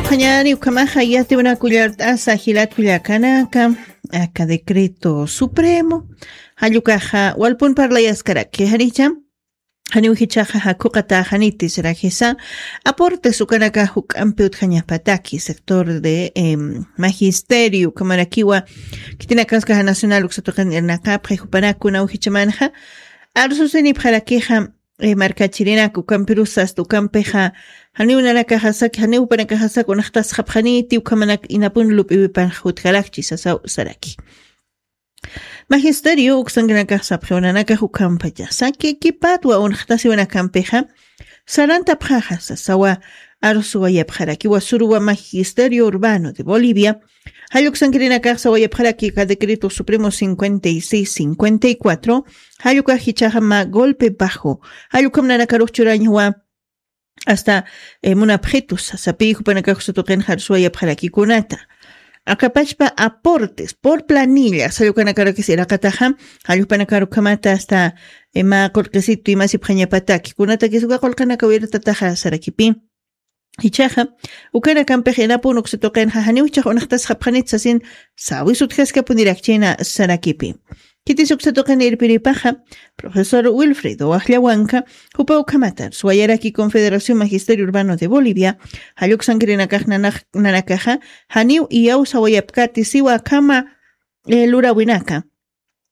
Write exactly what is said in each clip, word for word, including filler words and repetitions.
Qhañani ukhamaxa yatiwna kullart'asa jilat kullakanaka, aka decreto supremo jallukaxa walpun parlayaskaraki janicha. Janiw jichaxa jakhuqata janiti sirajisa aportes ukanaka juk'ampi utjañapataki sector de em, magisterio ukhamarakiwa khitinakaskaja nacional uksatuqin irnaqapxi jupanakuna ujichamanxa arsusinipxarakixa. Markachirinak ukampirusasta ukampixa janiw nanakaxasaki janiw jupanakaxasaki unxtasxapxaniti ukhamanak inapun lup'iwipanxa jutkarakchi sasaw saraki. Magisterio uksankinakax sapxiw nanakax ukhampachasa kikipatwa unxtasiwanakampixa sarantapxaxa sasawa. Arsuwayapxarakiwa suruwa magisterio urbano de bolivia jalluksankirinakax sawayapxaraki ka decreto supremo cincuenta y seis cincuenta y cuatro jallukax jichaxa mä golpe bajo. Jallukam nanakarux churañawa hasta munapxitus sasapi jupanakax satuqin jarsuwayapxarakikunata. Akapachpa aportes por planilla sallukanakarukis iraqataxa jallukpanakarukhamata hasta mä qurqisitu imasipxañapataki kunatakis uka qulqanaka wirtataxa sarakipi. Ichaxa ukanakampix inapun uksatuqinxa janiw ichax unxtasxapxanit sasin sawis utjaskapunirakchina sarakipi. Khitis uksatuqin irpiripaxa profesor wilfredo wajllawanka jupa ukhamata suwayaraki confederación magisterio urbano de bolivia jalluksankirinakax nanakaxa janiw iyaw sawayapkati siwa akhama lurawinaka.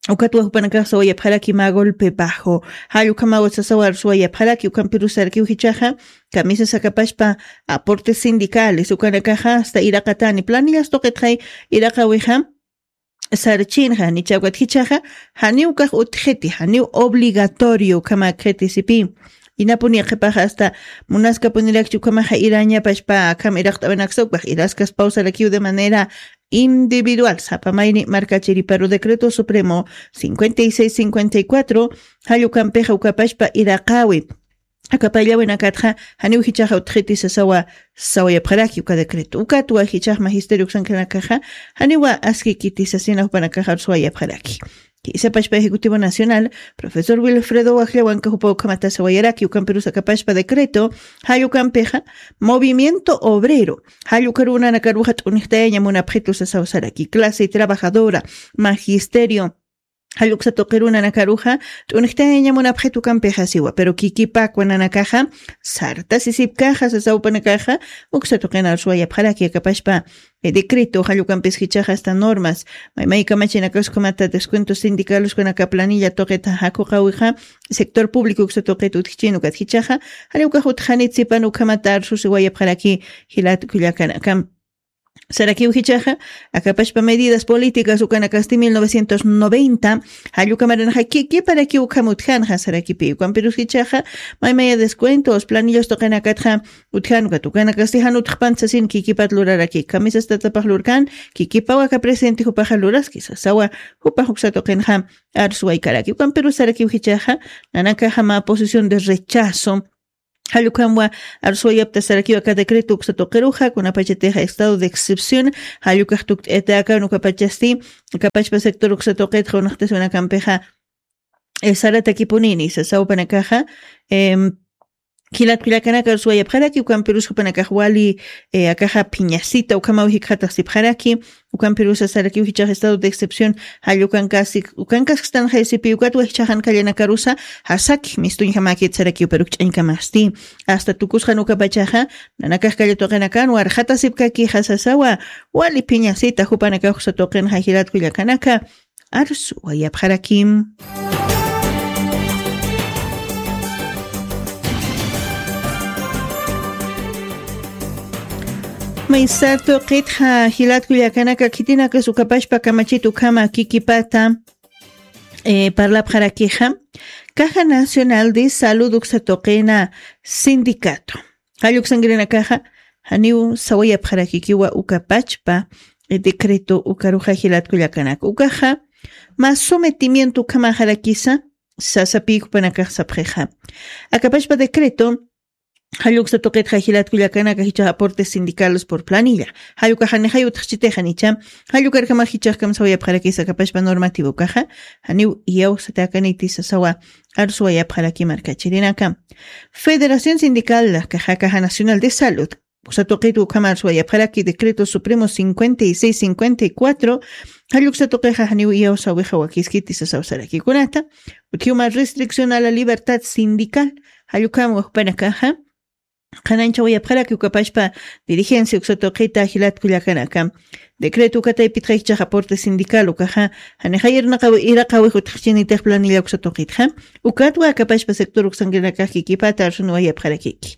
Ukatwa jupanakax sawayapxaraki mä golpe bajo jall ukhamawa sasawa arsuwayapxaraki ukampirusarakiw jichaxa kamisas akapashpa aportes sindicales ukanakaxa hasta iraqatani planillas tuqitxay iraqawixa sarchinxa nichawkat jichaxa janiw kax utjiti janiw obligatorio ukhama akxiti sipi. Inapuni qhipaxa hasta munaskapunirakchi ukhamaxa irañapashpa akham iraqt'awinaksa ukpax iraskaspawsarakiw de manera individual sapa mayni markachiriparu decreto supremo cincuenta y seis cincuenta y cuatro jallukampixa ukapashpa iraqawi akapallawinakatxa janiw jichaxa utjiti sasawa. Sawayapxaraki uka decreto ukatwa jichax magisterio uksankanakaxa janiwa askikiti sasina jupanakaxa arsuwayapxaraki. Isapashpa ejecutivo nacional profesor wilfredo wajllawanka jupa ukhamata sawayaraki ukampirus akapashpa decreto jallukampixa movimiento obrero jallukarunanakaruxa t'unijtayaña munapxitu sasawsaraki clase trabajadora magisterio jalluksa tuqirunanakaruxa t'unijtayaña munapxitu ukampixasiwa pero kikipakwa nanakaxa sartasisipkaxa sasawpanakaxa uksa tuqina arsuwayapxaraki akapashpa decreto jallukampis jichaxa hasta normas maymaykamachinakaskunata descuento sindicaluskunaka planilla tuqita jakuqawixa sector público uksa tuqita utjichin ukat jichaxa janiwkax utjanit sipan ukhamata arsusiwayapxaraki. Jilat kullakanakam sarakiw jichaxa akapashpa medidas políticas ukanakasti mil novecientos noventa jallukamaranxa kikiparakiw ukham utjanxa sarakipi ukampirus jichaxa maymaya descuentos planillos tuqinakatxa utjanukat ukanakasti jan utjpant sasin kikipat luraraki kamisas tatapax lurkan kikipaw aka presente jupaxa luraski sasawa jupax uksa tuqinxa arsuwaykaraki ukampirus sarakiw jichaxa nanakaxa mä posición de rechazo jallukhamwa arsuwayapta sarakiw aka decreto uksa tuqiruxa kunapachatixa estado de excepción jallukax tukt'ayatakan ukapachasti akapachpa sector uksa tuqitxa unaqtasiwanakampixa saratakipunini sasawpanakaxa jilat kullakanaka arsuwayapxaraki ukampirus jupanakax wali akaxa phiñasita ukhamaw jikxataxsipxaraki ukampirusa sarakiw jichax estado de excepción jallukankasik ukankaskstanxaysipi ukatwa jichaxan kallanakarusa jasakix mistuñjamäkit sarakiw pero ukch'añkamasti hasta tukusxan ukapachaxa nanakax kallatuqinakan warxatasipkakixa sasawa wali phiñasita jupanakax uksatuqinxa jilat kullakanaka arsuwayapxarakim. Maysar tuqitxa jilat kullakanaka khitinakas ukapashpa kamachit ukhama kikipata parlapxarakixa caja nacional de salud uksa tuqina sindicato jalluksankirinakaxa janiw sawayapxarakikiwa ukapachpa decreto ukaruxa jilat kullakanaka ukaxa mä sometimiento ukhamaxarakisa sasapi jupanakax sapxixa akapashpa decreto jalluksa tuqitxa jilat kullakanaka jichax aportes sindicales por planilla jallukaxanixay utxchitixanicha jallukarkamax jichaxkam sawayapxarakisa akapashpa normativo ukaxa janiw iyawsatakaniti sasawa arsuwayapxaraki markachirinaka. Federación sindical caja nacional de salud Uksa tuqit ukham arswayapxaraki decreto supremo cincuenta y seis cincuenta y cuatro, jall uksa tuqixa janiw iyawsawixa wakiskiti sasaw saraki kunata, utjiw mä restricción a la libertad sindical, jall ukham wajpanakaxa, qhanañchawayapxaraki ukapashpa dirigencia uksa tuqita jilat kullakanaka. Decreto ukataypitxa jichhax aporte sindical ukaxa, janixa irnaqawi, iraqawi jutxchinitix planilla uksa tuqitxa. Ukatwa akapashpa sector uksankinakax kikipata arsunwayapxarakiki.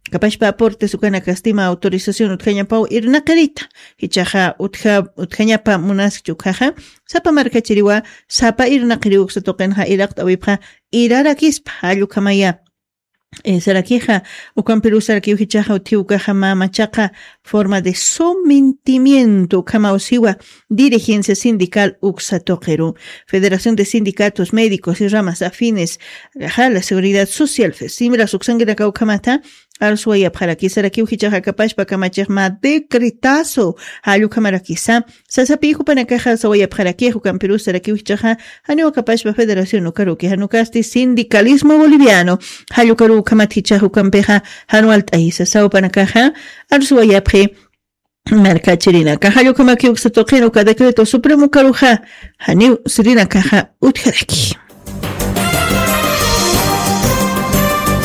Akapashpa aportes ukanakasti mä autorización utjañapaw irnaqirita. Jichhaxa utja, utjañapa munaskchi ukhaxa, sapa markachiriwa, sapa irnaqiriw uksa tuqinxa iraqt'awipxa, irarakispa, jall ukhamaya. Eh, sarakixa, ukampiruw sarakiw jichhaxa utji ukaxa mä machaqa forma de sometimiento ukhamaw siwa dirigencia sindical uksa tuqiru. Federación de Sindicatos Médicos y Ramas Afines, akaxa la Seguridad Social, FESIMRAS uksankinaka ukhamata, arswayapxaraki sarakiw jichhaxa akapashpa kamachix mä decretazo, jall ukhamarakisa, sasapi jupanakaxa sawayapxarakix ukampirus sarakiw jichhaxa, janiw akapashpa federación ukaruki, jan ukasti sindicalismo boliviano, jall ukaru ukhamat jichhax ukampixa, jan walt'ayisa sasaw jupanakaxa, arswayapxi markachirinaka, jall ukhamakiw uksa tuqin uka decreto supremo ukaruxa, janiw sirinakaxa utjaraki.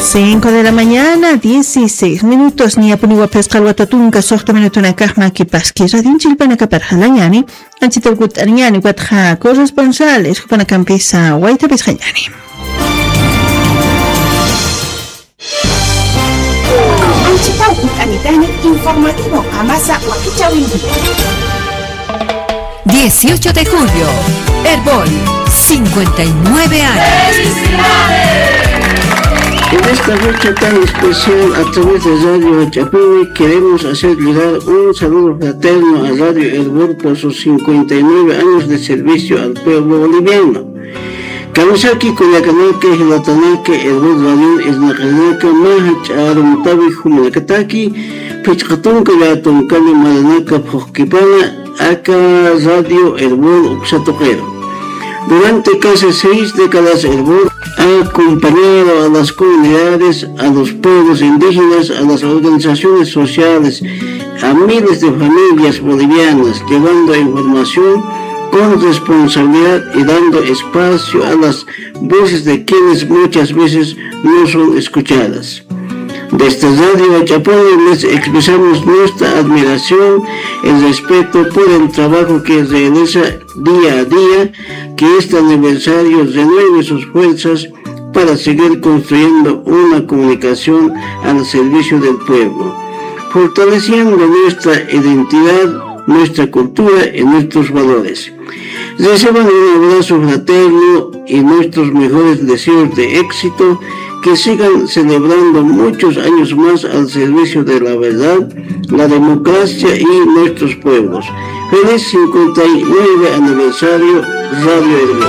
Cinco de la mañana, dieciséis minutos. Niyapuniwa phisqa alwata tunka suxta minutunakax makipaski. Radionchillpanakapar jalañani, anchita ukut'añani, ukatxa corresponsales jupanakampisa waytapisqañani. Anchita ukut'anitani informativo Amasa wakichäwinki. Dieciocho de julio, Erbol, cincuenta y nueve años. En esta fecha tan especial, a través de Radio Huachapuni, queremos hacer llegar un saludo fraterno a Radio Erbol por sus cincuenta y nueve años de servicio al pueblo boliviano. Kamisaki kullakanaka, jilatanaka, Erbol Radion irnaqirinaka, mä jach'a arumtawi jumanakataki, phisqa tunka llätunkani maranaka phuqkipana, aka Radio Erbol uksa tuqiru. Durante casi seis décadas, Erbol ha acompañado a las comunidades, a los pueblos indígenas, a las organizaciones sociales, a miles de familias bolivianas, llevando información con responsabilidad y dando espacio a las voces de quienes muchas veces no son escuchadas. Desde Radio Huachapuni les expresamos nuestra admiración y respeto por el trabajo que realiza día a día, que este aniversario renueve sus fuerzas para seguir construyendo una comunicación al servicio del pueblo, fortaleciendo nuestra identidad, nuestra cultura y nuestros valores. Reciban un abrazo fraterno y nuestros mejores deseos de éxito, que sigan celebrando muchos años más al servicio de la verdad, la democracia y nuestros pueblos. Feliz cincuenta y nueve aniversario, Radio Erbol.